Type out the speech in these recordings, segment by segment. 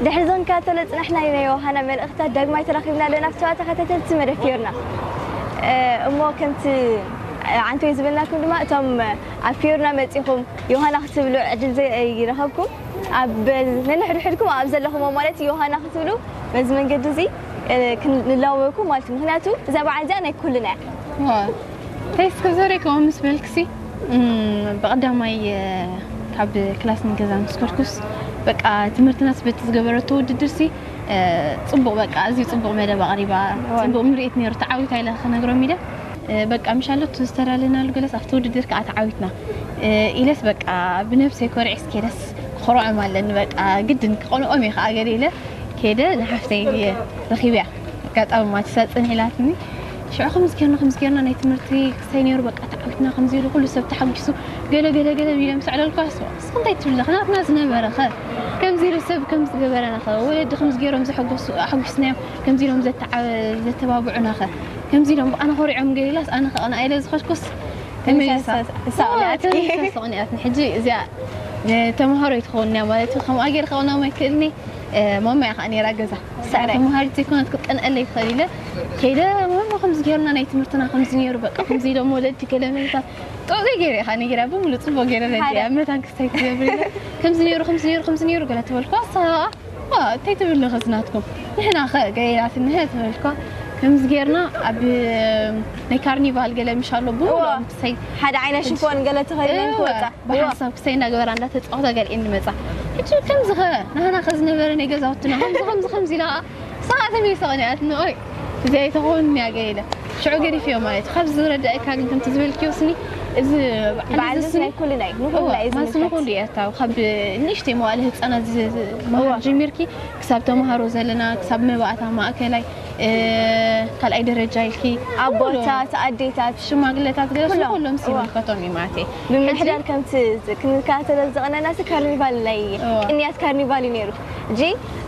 ድሕሪ ዞን ካቶለ ጽናሕና ናይ ዮሃና መልእኽታት ዳግማይ ተራኺብና ኣለና። ፍተዋ ተኸታተልቲ መደብ ፊዮርና። እ፣ እሞ ከምቲ፣ እ፣ ዓንቶይ ዝበልናኩም ድማ እቶም ኣብ ፊዮርና መጺኹም ዮሃና ክትብሉ ዕድል ዘ-፣ ይረኸብኩም። ኣብ ነንሕድሕድኩም ኣብ ዘለኹም ማለት ዮሃና ክትብሉ በዚ መንገዲ እዚ፣ እ፣ ክንላወኩም ማለት እዩ። ምኽንያቱ እዛ በዓል እዚኣ ናይ ኩልና እያ። ዋ፣ እንታይ እስከ ዘረከው ምስ በልክሲ፣ እም፣ ብቐዳማይ፣ እ፣ ካብ ክላስ ንገዛ ምስ ከድኩስ፣ በቃ ትምህርትናስ በቲ ዝገበረቶ ውድድርሲ፣ እ፣ ጽቡቕ፣ በቃ ኣዝዩ ጽቡቕ መደብ ኣቕሪባ፣ እዋን። ጽቡቕ ምርኢት ነይሩ፣ ተዓዊታ ኢለ ክነግሮም ኢለ። እ፣ በቃ ምሻሎ እቲ ዝተዳለናሉ ገለስ ኣብቲ ውድድር ከኣ ተዓዊትና። እ፣ ኢለስ በቃ ብነብሰይ ኮሪዐስ ከይደስ ክኾርዖም ኣለኒ፣ በቃ ግድን ክቐንኦም እየ ከኣ ገለ ኢለ ከይደ ንሓፍተይ ረኺበያ። ኣጋጣሚ ማቲሳ ጽንሕ ኢላትኒ። ሽዑ ከምዚ ጌርና፣ ከምዚ ጌርና ናይ ትምህርቲ ክስታይ ነይሩ፣ በቃ ተዓዊትና፣ ከምዚ ኢሉ ኩሉ ሰብ ተሓጒሱ፣ ገለ፣ ገለ፣ ገለ ኢለ ምስ ኣዕለልኳ፣ "እሱ፣ እስኺ እንታይ ትብሊ ኣለኺ? ናትና ዝነበረ ኸ? ከምዚ ኢሉ ሰብ ከም ዝገበረና ኸ? ወለዲ ከምዚ ገይሮም ዘሐጎሱ-፣ ኣሐጒስናዮም፣ ከምዚ ኢሎም ዘተዓ-፣ ዘተባብዑና ኸ? ከምዚ ኢሎም ብኣና ኾሪዖም ገለ ኢላስ፣ ኣነ ኸ ቀና ኢለ ዝኸድኩስ?" ተመሊሳ፣ ተመሊሳ፣ እሳ እዋ፣ ቀኒኣትኪ። ተመሊሳ፣ እሳ ቀኒኣትኒ። ሕጂ እዚኣ፣ እ፣ ተምሃሮ ኣይትኸውን እያ ማለት እዩ። ከምኣ ገይረ ከቕንኦም ኣይክእልን እየ። እ፣ ማማ እያ ከኣ ነይራ ገዛ። ሳዕራይ። ተምሃሪት ዘይኮነት ክትቀንኣለይ ትኽእል ኢለ ከይደ፣ "ማማ፣ ከምዚ ጌርና ናይ ትምህርትና ከምዚ ነይሩ፣ በቃ፣ ከምዚ ኢሎም ወለዲ ገለ መልታት ጥዑይ ገይረ ኢኻ ነጊራ፣ ብምሉእ ጽቡቕ ገይረ ረዲኣ፣ ሓደ። መታን ክስታይ ትገብር ኢለ፣ ከምዚ ነይሩ፣ ከምዚ ነይሩ፣ ከምዚ ነይሩ" ገለ ተበልኳ። እሳ ዋ፣ እንታይ ትብል ኣለኺ ናትኩም? ንሕና ኸ ገለ ኢላትኒ፣ "ንሕና" ተበልኳ። ከምዚ ጌርና ኣብ ናይ ካርኒቫል ገለ ምሽ ኣሎ፣ ብምሉኦም እዋ። ክስታይ ሓደ ዓይነት ሽፎን ገለ ተኸዲነን እወ። ክወጻ። ብሓንሳብ ክሰይ እንዳገበራ እንዳተጻወታ ገሊኤን ንመጻ። ሕጂ ከምዚ ኸ ናህና ኸ ዝነበረ ናይ ገዛውትና ከምዚ፣ ከምዚ፣ ከምዚ ኢላ ኸዓ፣ ንሳ ኸዓ ተመሊሳ ቐኒኣትኒ፣ ኦይ፣ እዚኣ ኣይትኸውን እያ ገለ ኢለ። ሽዑ ገዲፈዮ ማለት እዩ። ካብዚ ዝረዳእካ ግን ከምቲ ዝበልክዮ ስኒ፣ እዚ በዓል በዓል እዚ እዚ ስኒ ናይ ኩልና እዩ። ንኹልና እወ፣ እዩ ማስ ዝምልከት። ንኹሉ እዩ ኣታዊ። ካብ ንእሽተይ መዋእለ ህጻናት ዝ-፣ ዝ-፣ መሃር እወ። ጀሚርኪ ክሳብ ተምሃሮ ዘለና፣ ክሳብ መባእታ ማእከላይ፣ እ፣ ካልኣይ ደረጃ ኢልኪ፣ ኣቦታት፣ ኣዴታት፣ ሽማግለታት ገለ ኩሎም። ኩሎም እዋ። ይምልከቶም እዩ ማለት እዩ። ብምምሕዳር ከምቲ ዝ-፣ ክንከታተሎ ዝቐነናሲ ካርኒቫል ናይ እዋ። ቅንያት ካርኒቫል እዩ ነይሩ። ሕጂ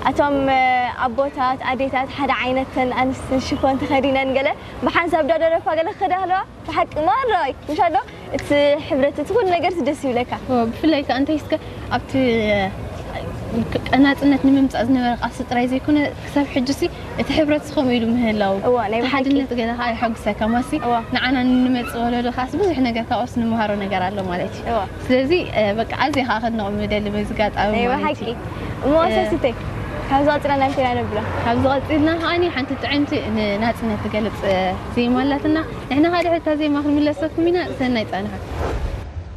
ኣቶም፣ እ፣ ኣቦታት፣ ኣዴታት ሓደ ዓይነት ተን ኣንስቲ ሽፎን ተኸዲነን ገለ ብሓንሳብ ዳ ደረፋ ገለ ክኸዳ ኣለዋ። ብሓቂ ማራይ፣ ምሻ ዶ? እቲ ሕብረት፣ እቲ ኩሉ ነገር ደስ ይብለካ። እዎ፣ ብፍላይ ከኣ እንታይ እስከ ኣብቲ፣ እ፣ ናጽነት ንምምጻእ ዝነበረ ቃልሲ ጥራይ ዘይኮነ፣ ክሳብ ሕጂሲ እቲ ሕብረት ከምኡ ኢሉ ምህላው፣ እዎ፣ ናይ እቲ ብሓቂ። ሓድነት ገለ ከኣ የሐጉሰካ። ማሲ እዎ። ንዓና ንመጽእ ወለዶ ከኣስ ብዙሕ ነገር ካብኦስ ንምሃሮ ነገር ኣሎ ማለት እዩ። እዎ። ስለዚ፣ እ፣ በቃ ኣዝየ ከኣ ከድንቖም ምደሊ በዚ ኣጋጣሚ ናይ ማለት ብሓቂ። እዩ። እሞ እ፣ ሰስተ፣ ካብዚ ቀጺልና እንታይ ኢና ነብሎ? ካብዚ ቀጺልና ከኣኒ ሓንቲ ጥዕምቲ ንናጽነት ትገልጽ፣ እ፣ ዜማ ኣላትና። ንሕና ከኣ ድሕሪ እታ ዜማ ክንምለሰኩም ኢና። ሰናይ ጻንሖት።